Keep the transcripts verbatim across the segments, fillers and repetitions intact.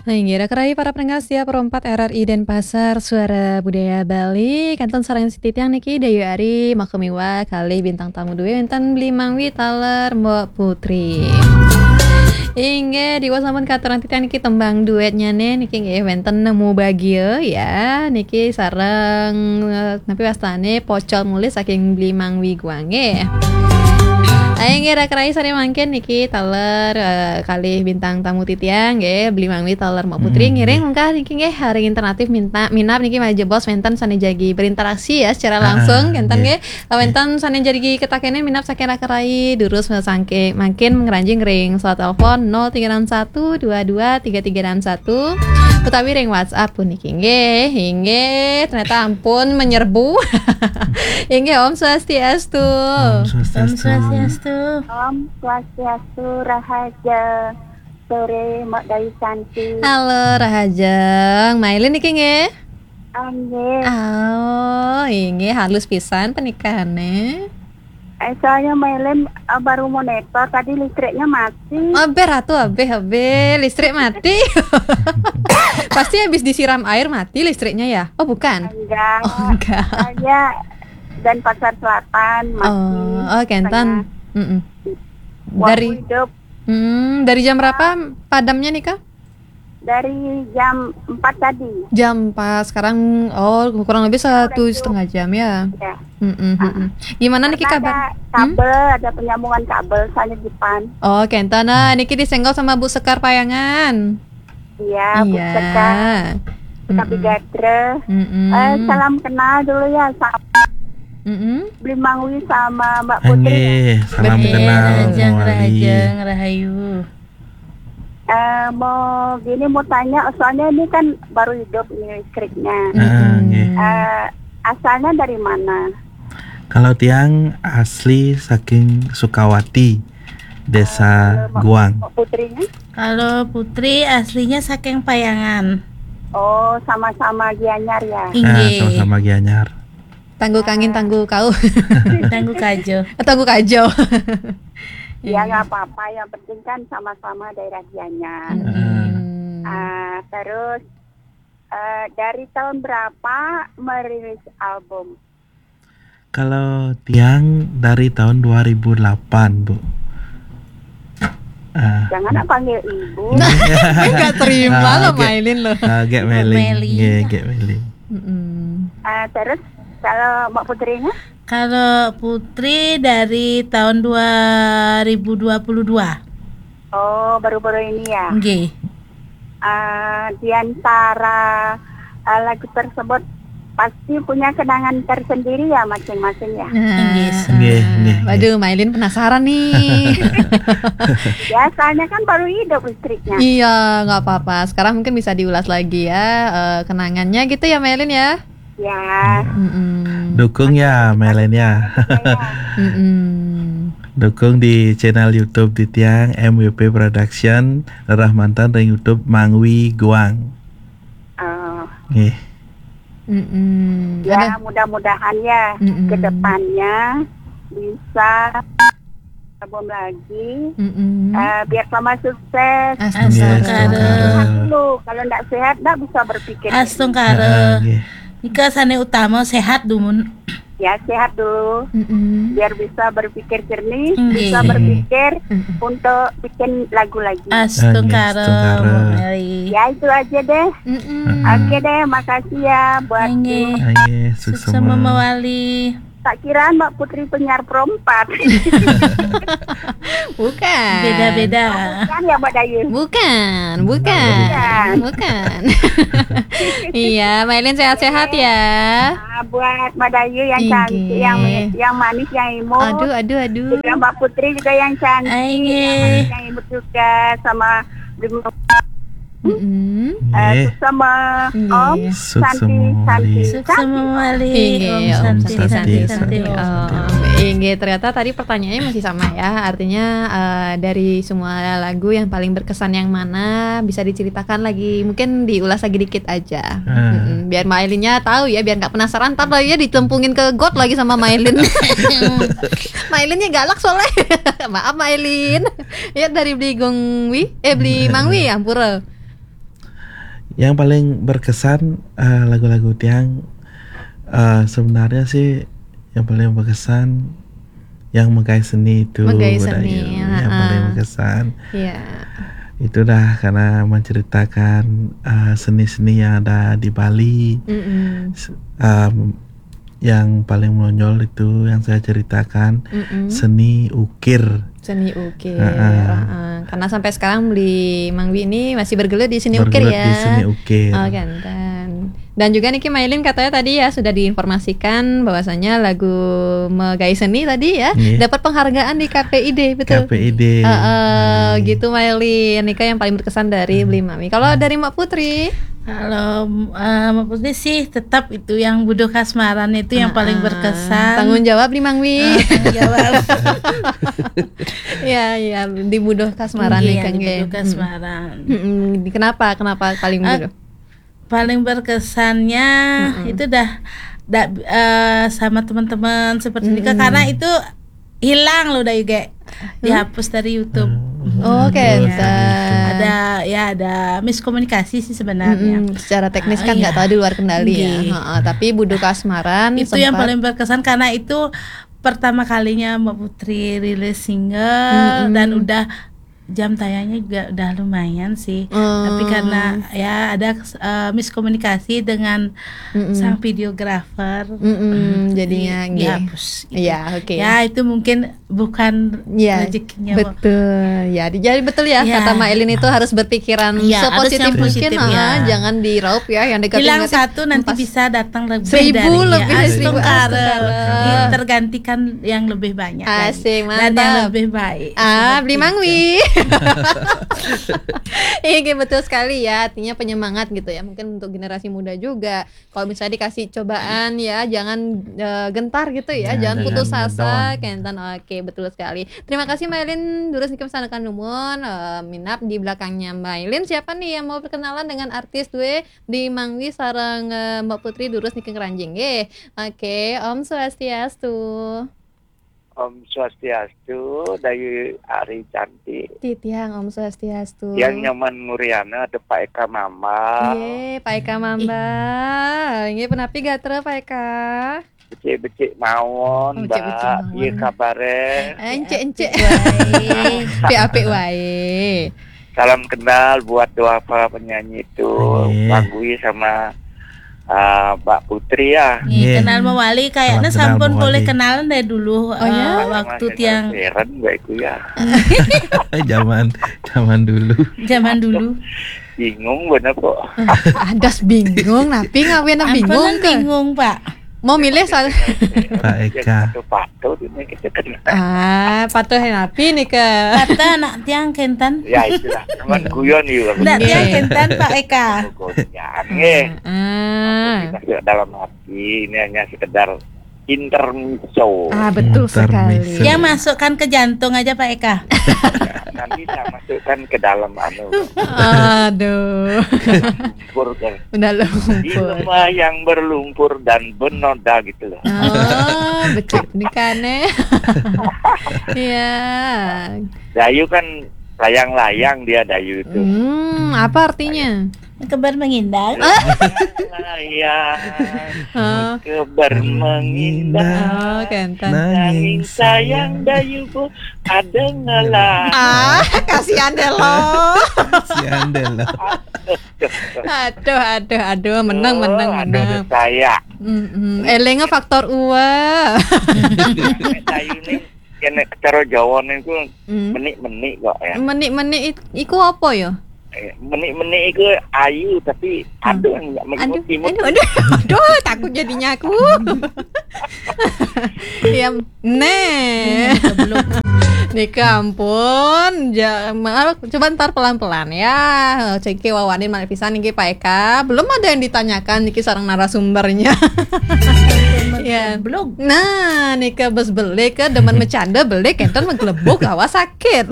Inggih, dah kerai para pendengar setia Pro empat R R I Denpasar, Suara Budaya Bali. Kantun sareng titiang niki Dayu Ari, makemiwa kalih bintang tamu duwe wenten Bli Mangwi taler Mbok Putri. Inggih, diwasampun katurang titiang niki tembang duetnya nih, niki nggih wenten Nemu Bagia ya. Niki sareng, eh, napi wastane Pocol Mulih saking Bli Mangwi Guang nggih. Ayo nggih, rak rai sare mangkin niki taler, eh, kalih bintang tamu titiang nggih, Bli Mangwi taler Mbok Putri. Mm-mm, ngiring nggih. Mungkah niki nggih, ring alternatif minta, minab niki malih jebos wenten sane jagi berinteraksi ya secara langsung, ah, kenten nggih. Nggih. Wenten sane jagi ketakene minab saking rak rai, durus saking mangkin ngranjing ring soal telepon nol tiga enam satu dua dua tiga tiga enam satu utawi ring WhatsApp puniki nggih. Inggih, ternyata ampun menyerbu. Inggih, Om Swastiastu. Om Swastiastu. Om Swastiastu. Om Swastiastu, rahaja sore, Mak Dayu cantik. Halo, rahajeng. Mailin niki nggih? Ah, nggih. Oh, inggih, halus pisan penikahane. Eh, soalnya Mailin, eh, baru monitor, tadi listriknya mati. Abeh, Ratu, abeh, abeh, listrik mati. Pasti habis disiram air mati listriknya ya? Oh, bukan? Enggak. Oh, enggak. Soalnya Denpasar Selatan mati. Oh, oh, kenten. Setengah. Mm-mm. Wah, dari, hidup. Hmm, dari jam berapa padamnya nih, Kak? Dari jam empat tadi. Jam empat, sekarang, oh, kurang lebih satu setengah jam ya? Ya. Mm-mm, mm-mm. Gimana niki kabar? Karena ada kabel, ada penyambungan kabel, soalnya di depan. Oh, kenten. Nah, niki disenggol sama Bu Sekar Payangan. Iya, Bu Sekar. Iya. Sekar Bigatra. Mm-mm. Eh, salam kenal dulu ya, sama Bli Mangwi sama Mbak Putri. Nggih, salam kenal, rahajeng, Mawali. Rahajeng, rahayu. Eh, mau gini, mau tanya, soalnya ini kan baru hidup ini listriknya. Ah, nggih. Eh, asalnya dari mana? Kalau tiang asli saking Sukawati, Desa Guang. Eh, Mbak Putrinya? Kalau Putri aslinya saking Payangan. Oh, sama-sama Gianyar ya? Inggih. Ah, sama-sama Gianyar. Tanggu kangin, tanggu kau. Tanggu kajo. Tanggu kajo. Ya, nggak apa-apa. Yang penting kan sama-sama daerah Gianyar. Mm-mm. Ah, terus, eh, dari tahun berapa merilis album? Kalau tiang dari tahun dua ribu delapan, Bu. Ah. Jangan nak panggil ibu. Nggak terima loh, Mailin loh. Ah, Gek Melin. Nggih, Gek Melin. Mm-mm. Ah, terus kalau Mbak Putrinya? Kalau Putri dari tahun dua ribu dua puluh dua. Oh, baru-baru ini ya? Nggih. Ah, di antara, ah, lagu tersebut pasti punya kenangan tersendiri ya masing-masing ya? Nah. Nggih, nggih, nggih. Waduh, Mailin penasaran nih. Ya, soalnya kan baru hidup listriknya. Iya, nggak apa-apa. Sekarang mungkin bisa diulas lagi ya, eh, kenangannya gitu ya, Mailin ya? Ya. Mm-mm. Dukung ya, Mailin ya. Iya. Mm-mm. Dukung di channel YouTube titiang M W P Production, rerah manten ring YouTube Mangwi Guang. Oh. Nggih. Mm-mm. Ya, mudah-mudahan ya ke depannya bisa album lagi. Mm-mm. Eh, biar sama sukses. Astungkara. Nggih, astungkara. Sehat dulu. Kalau ndak sehat, ndak bisa berpikir. Astungkara. Heeh, nggih. Nika sane utama sehat dumun. Ya, sehat dulu. Mm-mm. Biar bisa berpikir jernih, nggih, bisa berpikir untuk bikin lagu lagi. Astungkara, nggih, astungkara. Mbok Meli. Ya, itu aja deh. Mm-mm. Heeh. Oke deh, makasih ya buat, nggih, sukses sama Mawali. Tak kira Mbak Putri penyiar Pro empat. Bukan. Beda-beda. Bukan ya, Mbak Dayu? Bukan, bukan. Bukan. Bukan. Iya, Mailin sehat-sehat ya. Ah, buat Mbak Dayu yang cantik, yang, yang manis, yang imut. Aduh, aduh, aduh. Juga Mbak Putri juga yang cantik, yang manis, yang imut juga, sama Mm-mm. Eh, nggih. Suksema, Om. Nggih. Santi, suksema Santi, Mawali. Santi. Suksema Mawali. Nggih, Om. Om Santi, Santi, Santi, Santi, Santi, Om. Om. Nggih, ternyata tadi pertanyaannya masih sama ya. Artinya, eh, dari semua lagu yang paling berkesan yang mana, bisa diceritakan lagi, mungkin diulas lagi dikit aja. Ah. Mm-mm. Biar Mailinnya tahu ya, biar nggak penasaran, ntar lagi ditempungin ke got lagi sama Mailin. Mailinnya galak soalnya. Maaf, Mailin. Ya, dari Beli Gongwi, eh, Beli Mangwi, ampura. Yang paling berkesan, eh, lagu-lagu tiang, eh, sebenarnya sih yang paling berkesan yang Megai Seni itu, Megai Bu Seni, Dayu. Yang heeh. Paling berkesan Iya. itu dah karena menceritakan, eh, seni-seni yang ada di Bali. Mm-mm. S- em, yang paling menonjol itu yang saya ceritakan, Mm-mm. seni ukir. Seni ukir. Heeh. Heeh. Karena sampai sekarang beli Mang Wi ini masih bergelut di seni ukir Bergelut ya. Di seni ukir. Oh, kenten. Dan juga niki Mailin katanya tadi ya sudah diinformasikan bahwasanya lagu Megai Seni tadi ya Iya. dapat penghargaan di K P I D, betul? K P I D. Heeh, Iya. Gitu, Mailin. Nika yang paling berkesan dari Beli Mami. Kalau dari Mak Putri? Kalau, eh, Mak Putri sih tetap itu yang Budo Kasmaran itu yang paling Heeh. Berkesan. Tanggung jawab di Mang Wi. Eh, tanggung jawab. Ya, ya, di Budo Kasmaran Iya, nih, Kang, di nggih. Budo Kasmaran. Mm-mm. Kenapa? Kenapa paling Eh, Budo? Paling berkesannya itu dah, dah, eh, sama teman-teman seperti ini, Mm-mm. karena itu hilang loh, Dayu, ge. Dihapus dari YouTube. Oh, Iya. Kenten. Ada, ya, ada miskomunikasi sih sebenarnya. Mm-mm. Secara teknis Ah, kan nggak iya. tahu di luar kendali ya. Nggih. Heeh, tapi Budo Kasmaran Itu yang sempat paling berkesan karena itu pertama kalinya Mbak Putri rilis single Mm-mm. dan udah jam tayangnya juga udah lumayan sih. Hmm. Tapi karena ya ada, eh, miskomunikasi dengan Mm-mm. sang videografer, Mm-mm, jadinya di- nggih. dihapus gitu. Iya, oke. Ya, itu mungkin bukan Iya, rezekinya, Bu. betul. Ya, di- jadi betul ya, Ya. kata Mailin itu harus berpikiran Iya, harus sepositif yang mungkin, positif, ha, ya. Jangan di-raup ya, yang negatif. Hilang satu, nanti bisa datang lebih Seribu dari, lebih, ya, seribu, astungkara. astungkara. Tergantikan yang lebih banyak lagi. Asik, Dan yang mantap. Lebih baik. Ah, Seperti beli itu. Mangwi. Iya, betul sekali ya. Artinya penyemangat gitu ya. Mungkin untuk generasi muda juga. Kalau misalnya dikasih cobaan ya, jangan, eh, gentar gitu ya. Ya, Jangan putus jangan asa, down. Kenten. Oke, betul sekali. Terima kasih Mailin, durus niki masandekan numun, eh, minab di belakangnya Mailin. Siapa nih yang mau berkenalan dengan artis duwe di Mangwi sareng, eh, Mbak Putri durus niki ngranjing nggih. Oke, Om Swastiastu. Om Swastiastu, Dayu Ari Cantik. Titiang, Om Swastiastu. Yang nyaman nguriana ada Pak Eka Mambal. Nggih, Pak Eka Mambal. Nggih, penapi gatra Pak Eka? Becik-becik mawon, Oh, becik-becik Mbak. mawon. Iya kabare. Encik-encik. Baik. Apik-apik wae. Salam kenal buat dua para penyanyi itu, Nggih. Bang Gui sama, uh, Mbak Putri ya. Nih, Nggih. kenal mewali kayaknya Salam kenal sampun boleh mewali. Kenalan dari dulu, Oh, ya? eh, waktu Masih tiang Keren Mbak Iku ya. Eh, zaman zaman dulu. Zaman dulu. Bingung bener kok. Adas bingung, napi ngawin Ampun, bingung ke? Bingung, Pak. Mau milih salah. Pak Eka. Patut-patut ini kita kenal. Ah, patuh napi nih ke? Kata anak tiang kenten. Ya itulah, cuman guyon yuk. Ndak Nggih. Tiang kenten, Pak Eka. Guyon, nggih. Ah. Kita sudah dalam hati, ini hanya sekedar intermezzo. Ah, betul Intermezzo. sekali. Yang masukkan ke jantung aja, Pak Eka. Nanti saya masukkan ke dalam anu. Aduh. Lumpur kan. Udah Di lumpur. Lemah yang berlumpur dan benoda gitu loh. Oh, becik nih kane. Iya. Dayu kan layang-layang dia, Dayu itu. Hmm, apa artinya? Kebar mengindah. Layang, Hah? kebar mengindah. Oh, kenten. Nanging sayang Dayu bu ada ngelah. Ah, kasihan deh lo. Si Andel lah. Aduh, aduh, aduh, menang, menang, Aduh, menang. Saya. Mm-mm. Elengnya faktor uwa. Dayu ini kena cara Jawa niku Hmm. menik-menik kok ya. Menik-menik it- iku apa ya? Eh, Menik-menik itu ayu tapi aduh nggak Aduh, imut-imut. aduh, aduh, aduh, takut jadinya aku. Ya, nih. Nika ampun, ja, ma- coba ntar pelan-pelan ya. Cek wawanin malih pisan niki Pak Eka. Belum ada yang ditanyakan niki sareng narasumbernya. Ya. Belum. Nah, nika bes belik ke demen mecanda belik enten menggelebuk awas sakit.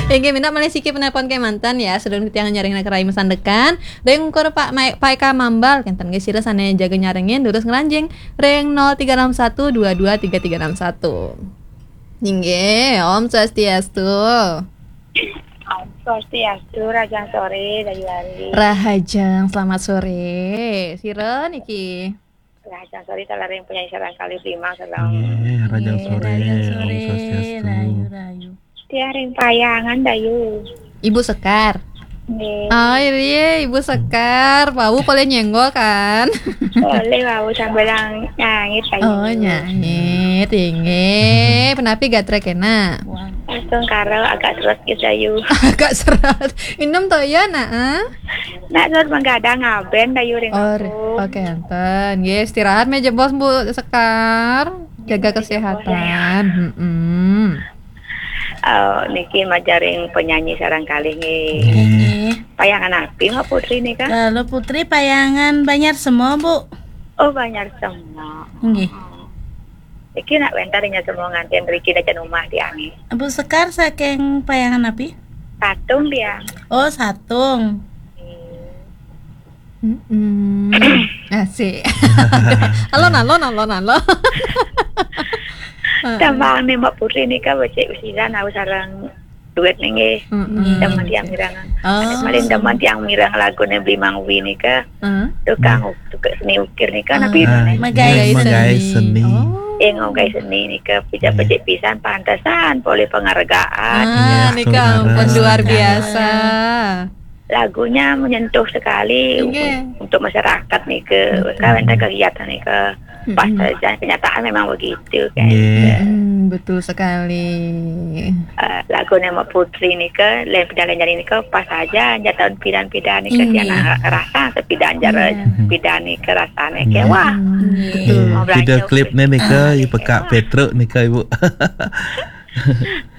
Inggih minab malih siki penelpon kemanten ya, sedurung titiang nyaring naka rai masandekan. Ring ukur Pak Mai- Pak Eka Mambal kenten nggih sira sane jaga nyarengin durus ngranjing ring nol tiga enam satu dua dua tiga tiga enam satu. Inggih, Om Swastiastu. Om Swastiastu, rahajeng sore, Dayu Ari. Rahajeng, selamat sore. Sira niki? Rahajeng sore, talereng penyanyi sareng kalih Bima, salam. Nggih, rahajeng Nggih, sore, rahajeng Om sore, Swastiastu. Rahayu, rahayu. Tiang ring Payangan, Dayu. Ibu Sekar. Nggih. Oh, iya, Ibu Sekar. Wau polih nyenggol, kan? Polih, wau sambilang nyangit, Dayu. Oh, nyangit, inggih. Punapi gatra kena? Astungkara, agak seret, Dayu. Agak seret. Inem to ya, nak, ah? Nak seret menggadang ngaben, Dayu, ring Oh, aku. Oke, enten. Nggih, istirahat meh jebos, Bu Sekar. Jaga Nggih, jebos, kesehatan. Dayu. Mm-mm. Eh, niki majeng ring penyanyi sareng kalih nggih. Nggih. Payangan napi, Mbak Putri nika? Kalau Putri payangan Banjar Sema, Bu. Oh, Banjar Sema. Nggih. Iki nak wénten ring Sema nganten riki dadi umah tiangé. Bu Sekar saking payangan napi? Satung tiang. Oh, Satung. Hmm. Mm-mm. Asik. Alon, alon, alon, alon. Heeh. Tembang nih Mbak Putri nika becik usiran, aku sareng duet nih nggih. Mm-mm. Demen tiang mireng. Oh. Paling demen tiang mireng lagune Bli Mangwi nika. Heeh. Tukang uk-, tukang seni ukir nika, ah, napi judulnya? Megai Megai seni. Seni. Oh. Eh, ngogai seni nika, pijak Iya. Becik pisan, pantesan polih penghargaan. Ah, iya, nika ampun luar biasa. Lagunya menyentuh sekali. Nggih. Untuk masyarakat nika. Betul. Kan wénten kegiatan nika. Mm-mm. Pas saja kenyataan memang begitu kan. Nggih. Mm-mm, betul sekali. Eh, lagune Mbak Putri nika, lain pidan-lain nika pas saja, nya tahun pidan-pidan nika, nggih. Tiang rasa sepidan jara, iya. Pidan nika rasane nggih. Kewah. Nggih. Betul. Mau belanja video klipnya nika, ah, i pekak kewah. Petruk nika, Ibu.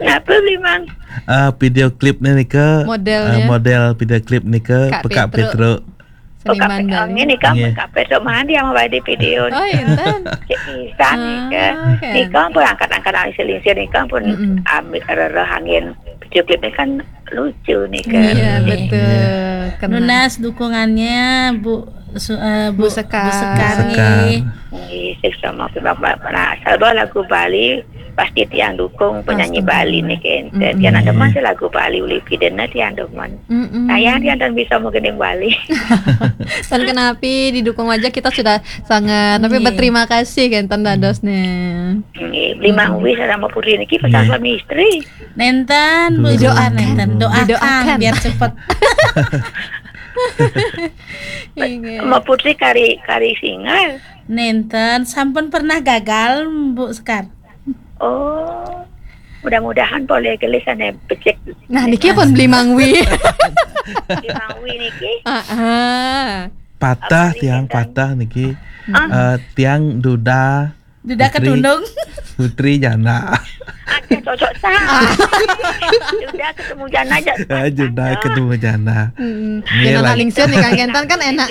Napa, Bli Mang? Ah, video klipnya nika, modelnya, ah, model video klip nika, Kak pekak Petruk. Petruk. Seniman Bali. Oh, Kak Petruk, nggih. Kak Petruk mandi sama badi video nika. Oh, enten. Cek pisan nika. Ah, oke. Nika pun angkat-angkat alis lingsir nika pun mm-mm. Ambil rereh angin. Video klipnya kan lucu nih, kan? Iya, iya. Betul. Kena. Nunas dukungannya, Bu Su-, eh, Bu, Bu Sekar. Bu Sekar, Bu Sekar. Nggih. Nggih, sukses sama Bapak. Nah, asal bawa lagu Bali, pasti tiang dukung penyanyi Bali nih, kan. Astaga. Mm-mm. Tiang ada masih lagu Bali, uli pidena tiang demen. Mm-mm. Sayang tiang tak bisa mau gending Bali. Tan kenapi, didukung aja kita sudah sangat, tapi nggih. Berterima kasih, kan, tan dadosnya. Nggih, Bli Mangwi sareng Mbak Putri niki pasangan suami istri. Nenten, Bu Sekar, nenten. Doakan. Doakan, biar cepet. Inggih. Mbak Putri kari, kari singal. Nenten, sampun pernah gagal, Bu Sekar. Oh, mudah-mudahan polih gelis ane becik. Nah, niki pun Bli Mangwi. Bli Mangwi niki. Ah, ah. Patah tiang, patah niki. Ah. Eh, tiang duda Duda Putri, ketundung. Putri janda. Ada cocok tak? Duda ketemu janda aja. Ah, duda ketemu janda. Mm-mm. Iya, jangan lah. Lingsir nih, Kang Gentan kan enak.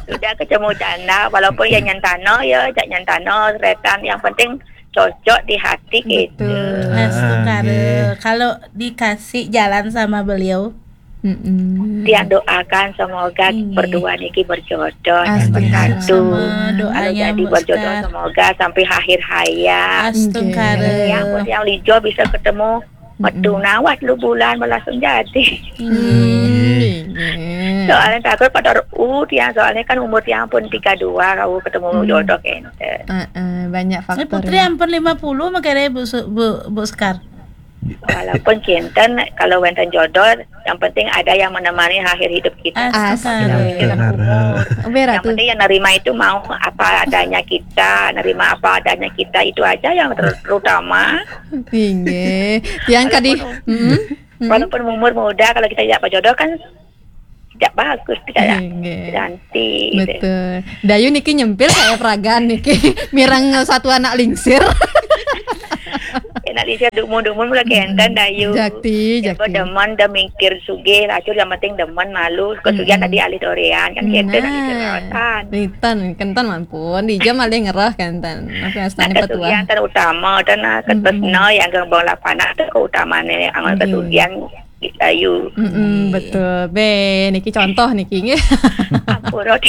Duda ketemu janda, walaupun ya nyantano, ya, jak nyantano, seretan, yang penting cocok di hati gitu. Betul. Astungkara. Ah, nggih. Kalau dikasih jalan sama beliau, mm-mm. Tiang doakan semoga berdua niki berjodoh. Amin. Astagfirullah. Kalau jadi berjodoh, semoga sampai akhir hayat. Astagfirullah. Yang pun yang lijo bisa ketemu metu nawas lu bulan langsung jadi. Hmm. Soalnya takut pada u tiang, soalnya kan umur tiang pun tiga dua, kau ketemu jodoh kente. Heeh, banyak faktor. Putri ya. Ampun lima puluh makanya Bu Su-, Bu, Bu Sekar. Walaupun kinten, kalau wénten jodoh, yang penting ada yang menemani akhir hidup kita. Astaga. Astaga. Yang penting yang nerima itu mau apa adanya kita, nerima apa adanya kita, itu aja yang ter-, terutama. Inggih. Yang kadi, walaupun, mm-mm. Walaupun umur muda, kalau kita tidak berjodoh kan tidak bagus, tidak, inggih, tidak anti gitu. Betul. Dayu niki nyempil kayak peragaan niki. Mireng satu anak lingsir. Anak lingsir dumun-dumun mulai kenten Dayu. Jakti, jakti. Demen, dah mikir sugih, lacur yang penting demen malu. Kesugihan tadi alih dorean, kan kenten anak lingsir rawatan. Rinten, kenten ampun. Di jam alih ngerah kenten. Apa astane petuah. Kesugihan kan utama, dan ketresna yang gembong lapanak tu keutamane angon kesugihan. Ayu. Mm-mm, betul. Be, niki contoh niki nggih. Ampura.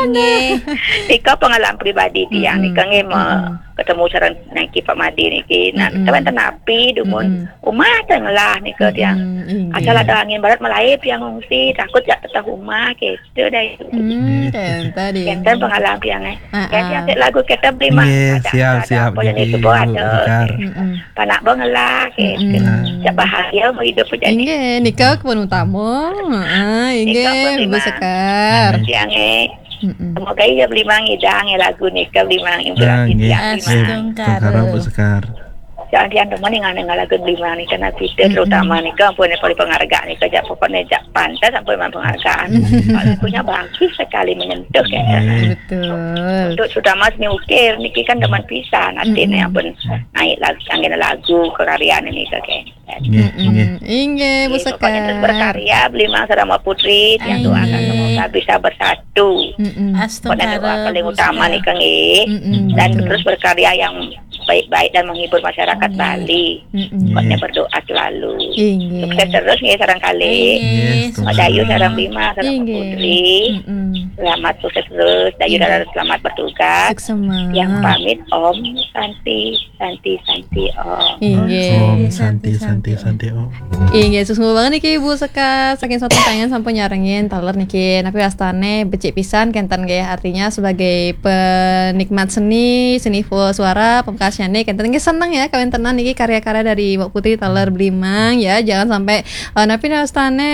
Nggih. Nika pengalaman pribadi tiang nika nggih, me-, ketemu sareng niki Pak Madi niki. Nah, mm-mm, kita wonten api dumun, mm-mm, umah teng lah nika tiang. Mm-mm, inggih. Asal ada angin barat mulai tiang ngungsi, takut jak teteh umah gitu deh. Hmm, kenten, kenten pengalaman tiang eh. Ah, kenten ah. Lagu kita beli mah. Nggih, ada, siap, ada siap, apa yang nggih, itu buat Bu ada. Sekar. Mm-mm. Panak banget lah gitu. Mm-mm. Nah. Jak bahagia mau hidup jadi. Inggih, nika kepun utama. Heeh, nika inggih, pun Bu Sekar. Tiang eh. Mm-mm. Semoga iya beli mang idang ya lagu nika beli mang. Nah, nggih, nggih. Astungkara. Astungkara Bu Sekar. Jangan tiang teman yang aneh lagu beli mang nika nanti itu, mm-mm, terutama nika ampun paling penghargaan nika jak pokoknya jak pantas sampai mang penghargaan. Mm-mm. Kalau lagunya bagus sekali menyentuh ya. Nggih. Betul. Untuk terutama seni ukir niki kan teman pisan artinya, mm-mm, ampun naik lagu angin lagu karya nika kayak. Nggih, mm-mm, nggih. Inggih, Bu Sekar. Pokoknya terus berkarya, beli mang sareng Mbak Putri, tiang doakan semoga bisa bersatu. Mm-mm. Pokoknya doa paling utama nih, Kang, nggih. Mm-mm, dan betul. Terus berkarya yang baik-baik dan menghibur masyarakat Bali. Mm-mm. Pokoknya berdoa selalu. Inggih. Sukses terus nggih sareng kalih. Inggih. Mbak Dayu sareng Bima sareng Mbak Putri. Mm-mm. Selamat sukses terus. Dayu dan selamat bertugas. Suksema. Yang pamit Om Santi. Santi, Santi, Om. Inggih. Om Santi, Santi, Santi, Om. Inggih, suksma banget niki Ibu Sekar. Saking sampun pengen sampun nyarengin taler niki. Tapi astane becik pisan kenten nggih. Artinya sebagai penikmat seni, seni full suara, pemkasnya nih kenten nggih seneng ya kawentenan niki karya-karya dari Mbak Putri taler beli mang ya. Jangan sampai eh, napi astane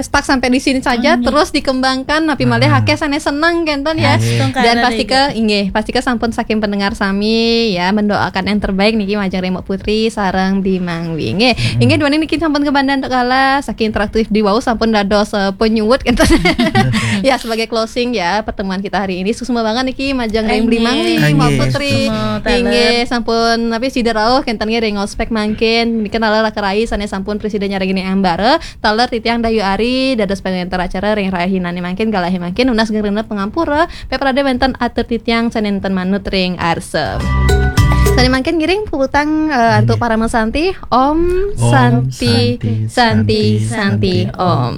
stuck sampai di sini saja, terus dikembangkan napi malih akeh sane seneng kenten ya. Astungkara. Dan pasti ke inggih, pasti ke sampun saking pendengar sami ya mendoakan yang terbaik niki majeng Mbak Putri sareng beli mang wi. Nggih, inggih duane niki sampun kebandan kala saking interaktif di wau sampun dados eh, penyuwut kenten. Ya sebagai closing ya pertemuan kita hari ini. Suksma banget niki majeng beli mang wi, Mbak Putri. Inggih, sampun napi sida rauh kenten nggih ring ospek mangkin. Niki taler kerai sane sampun presiden nyarengin embara. Taler titiang Dayu Ari dados pangenter acara ring rahinane mangkin galahe mangkin nunas genep pangampura peprade wenten atur titiang sane nenten manut ring arsa. Sane mangkin ngiring puputang eh, antuk parama santi. Om Santi, Santi, Santi, Om.